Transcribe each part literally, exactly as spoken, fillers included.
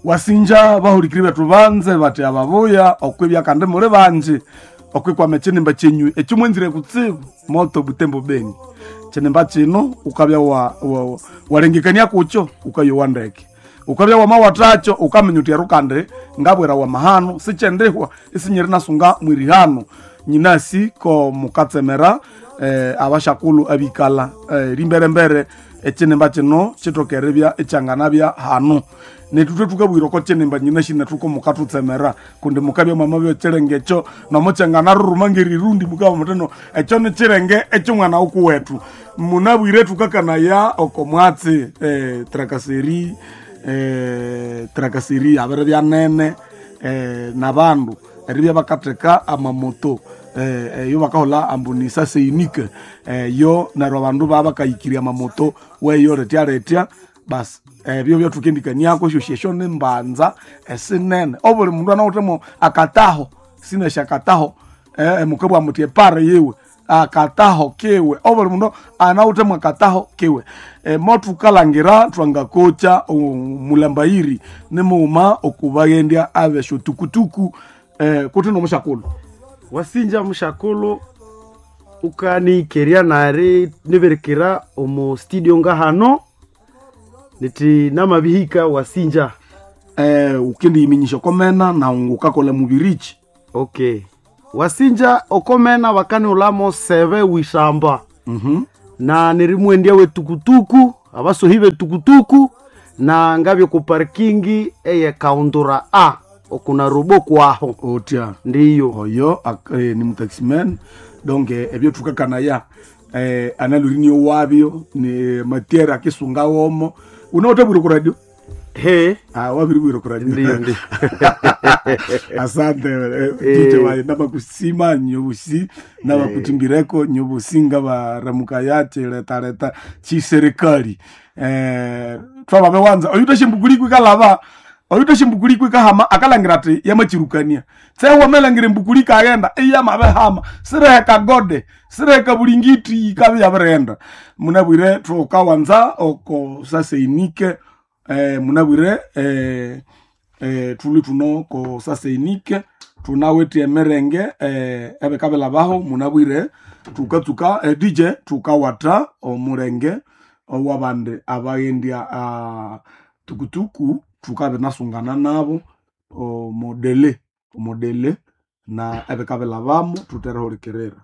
Wasinja bahulikiri bethu banze bati ababuya okwibya kandi muli banji okwikwama ekinimba kyenyu ekyomwenzire kutsibu Moto Butembo Beni. Kinimba kino ukabya wa, wa, walengekania kukyo ukayowa ndeke, ukabya wamawathacho ukaminya uthi ero kandi ngabwera wamahano sikyendihwa isinyiri nasunga mwirihano nyinasi ko mukatsemera eh, abashakulu abikala eh, rimberembere ekinimba kino kithokeribya ekyanganabya hano. Nethu thukabwira oko kinimba nyinasi nethu ko mukathutsemera kundi mukabya mwamabya ekirenge ekyo nomukyanganaruruma ngerirundi mukabya muthi no ekyo nikirenge ekyomwana wukuwethu. Munabwire thukakanaya oko mwatsi eh, trakaseri eh, trakaseri yabiribya nene eh, nabandu eribya bakatheka amamoto eh, eyo bakahola ambunisa seinike eh, yo neryo abandu babakayikirya amamoto weyo retya retya basi ebyo byathukendikaniako esyosi esyo nimbanza esinene obuli mundu anawithemo akataho sinesya akataho eh, mukabugha muthi epare yiwe akataho kiwe obuli mundu anawithemo akataho kiwe e, mothukalangira thwangakocha omulambayiri nimughuma okubaghendya abesyotukutuku eh, kuthi nomusyakulu. Wasinja mushakulu ukaniikeria nari niberikira omu studio ngahano niti namabihika wasinja. eh, ukendiyiminyisya okomena nawu ngukakolha mubirichi. Okay, wasinja okomena bakaniulamo sebe wishamba. mm-hmm. Na nirimwendya wetukutuku abasohi betukutuku na ngabye ku parkingi eye kaundura a okuna robo kwaho. Otya ndiyo oyo ak- eh, ni mutaximan donc eh, ebyo thukakanaya eh, analurinio wabyo ni matiere akisunga womo unawuthabwire ku radio. He. Ah, wabiribwire ku radio. Ndiyo, ndiyo. Asante eh, Eh. D J wayi nabakusima nyobusi nabakutimbireko nyobusi ngabaramuka chiletaleta chiserikali eh, twababe wanza oyutashe mbukuli ikalava oyutashe mbukuli ikahama akalangira ati yamachirukania tsewamelangira embukuli ikaghenda iyamabehama sireheka gode sireheka bulingiti ikabe yabirihenda. Munabwire thukawanza oko saseinike eh, munabwire eh, eh, thuli thuno ko saseinike thunawithe emirenge eh, ebikabila baho munabwire thukatsuka eh, D J thukawatha omulenge owabandi abaghendya ah, tukutuku thukabinasungana nabo omodele omodele na ebikabila bamo thutherehulikirira.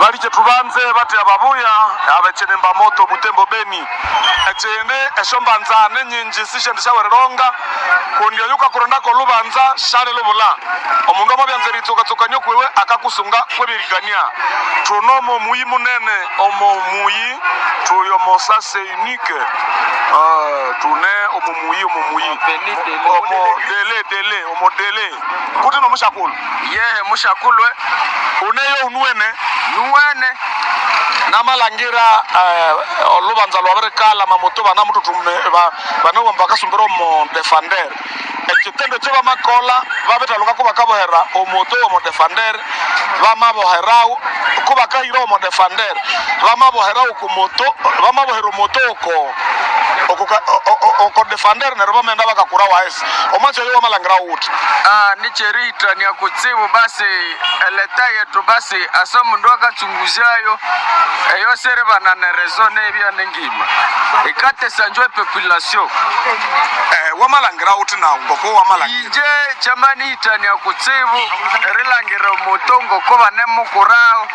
Baliche tubanze bati ababuya abechinemba Moto Butembo Beni echindi eshombanza nenyinji sishendishawereronga kundi oyuka kurondako lubanza shale lubula omundu amabyanza eritsukatsukanyo kwiwe akakusunga kwebirigania. Tunomo muyi munene omo muyi tuli omo sase unique uh, tune omo muyi omo muyi omo dele dele omo dele kuti nomushakulu. Yehe mushakulwe uneyo unuene nuwene namalangira uh, olubanza lwabirikala mamoto banamututume banawamba bakasumbira omo defender ekitendo kyo bamakola babithaluka kubakabohera omoto omo defender bamaboherawo kubakahira omo defender bamaboherawo kumoto bamabohera omoto oko oko defender neryo bamaghenda bakakura waesi omwatsi oyo wamalangira wuthi. Ah, nicheritania kutsibu basi eleta yetu basi asa mundu akachunguzayo eyo seribana nerezo nebya nengima ikatesa njo epopulation. Eh, wamalangira wuthi nawu ngoko wamalangira inje chamani itania kutsibu erilangira omoto ngoko banemukuraho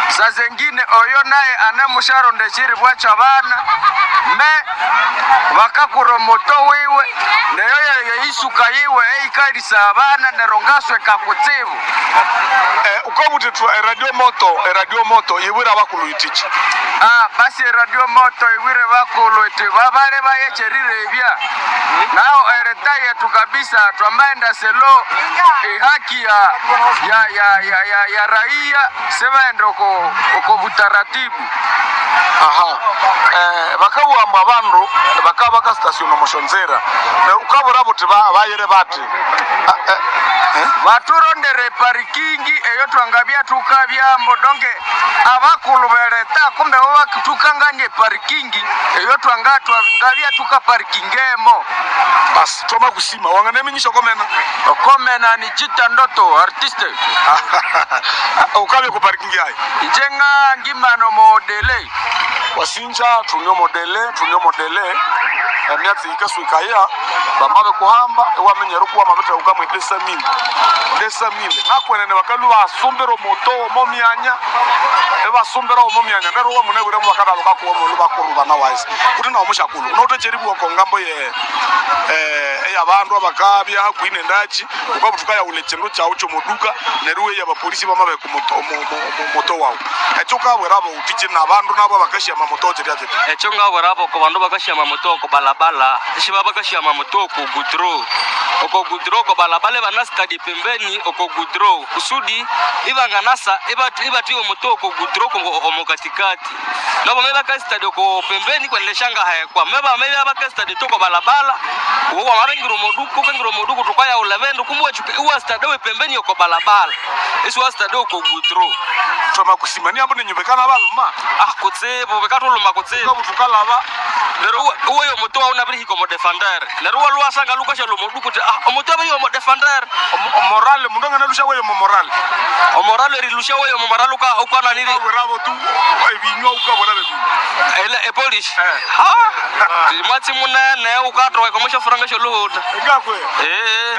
sazengine oyo naye anemusharonda echiribwa chabana me bakakura omoto wiwe neyo yeisuka yiwe eikalisa abana nero ngasweka kutsibu. Eh, ukabuthi thwa eradio moto eradio moto ibwira abakulu itichi. Ah, basi eradio moto iwire bakulu iti babale bayecherire ebya nao ereta yetu kabisa twamaenda selo ehaki ya, ya, ya, ya, ya, ya raia sebaenda uko, uko butaratibu. Aha, eh, bakabugamba abandu bakaba bakasitasiona omushonzera ukabura buti ba- bayire bati Ah, eh, eh? Baturondere parikingi eyo twangabya tukabyambo donke abakulu beleta kumbe bo bakutukanganie parikingi eyo twanga twangabya tukaparikingemo. Basi twama kusima wanganeminyisha komena. Okomena ni jita ndoto artiste. Ukabye ku parking yayi. Njenga ngimano modele. Wasinja tunyo modele tunyo modele emyatsi ikaswikaya bamabe kuhamba ewamenyera kuwa mabete ukamwe desamile desamile nakwenene bakalu basumbira omoto omo myanya ebasumbira omo myanya neryo wamunebwiremo bakadalo kakuwa molu bakuru bana wise kuti nawo mushakulu unoutecheribuwa kongambo ye eh, eyabandu abakabya hakuhi nendachi ukabutuka yaula chindu chawu chomoduka neryo weya abapolisi bamabe kumoto moto wawu ekyo ukabwera bauti nabandu nabo abakashiyama moto chirya chiti. Ekyo ngabwerabo ko bandu bakashiyama moto oko balabala ishiba bakashiyama moto oko gudro oko gudro oko balabala ibanasitadi pembeni oko gudro kusudi ibanganasa ibatu ibatiwe moto oko gudro oko omo katikati nabo me bakasitadi oko pembeni kweneleshanga hekwa meba me bakasitadi toko balabala uwo wamabengira omoduku ukengira omoduku tukayaula bendu kumbe wachuka iwasitadi we pembeni oko balabala isi wasitadi oko gudro. Twama kusima niambo nenyubekana baluma. Ah, kutsibu bekatuluma kutsibu. Ukabutukalaba. Lero uwe omuto wawu nabirihika omu defender lero waluwasanga lukasha lomoduku ti ah omuto abiri omu defender. Morale mundu anganalusha weyo mo morale. Omoralo erilusha weyo omoralo uka ukananiri. Ukabwerabo tu ebinywa ukabwera bebinywa. Ele epolish. Eh. Ha mwatsi munene ukatoka komosha furanga sholuhuta. Ngakwe. Eh.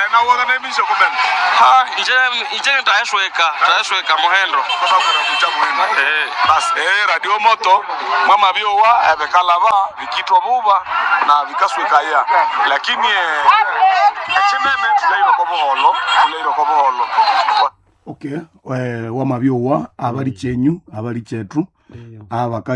Eh, nawo wanganeminyisha komena. Ha nje nje ntayashweka tayashweka muhendo. Twamakwera kucha muhendo. Eh. Basi eh, radio moto mwama byowa ebikalaba bikitwa buba na bikaswikaya lakini eh, ekinene tuleireko buholo tuleireko buholo. Okay, eh, wamabyowa abali chenyu abali chetu abakaghenda.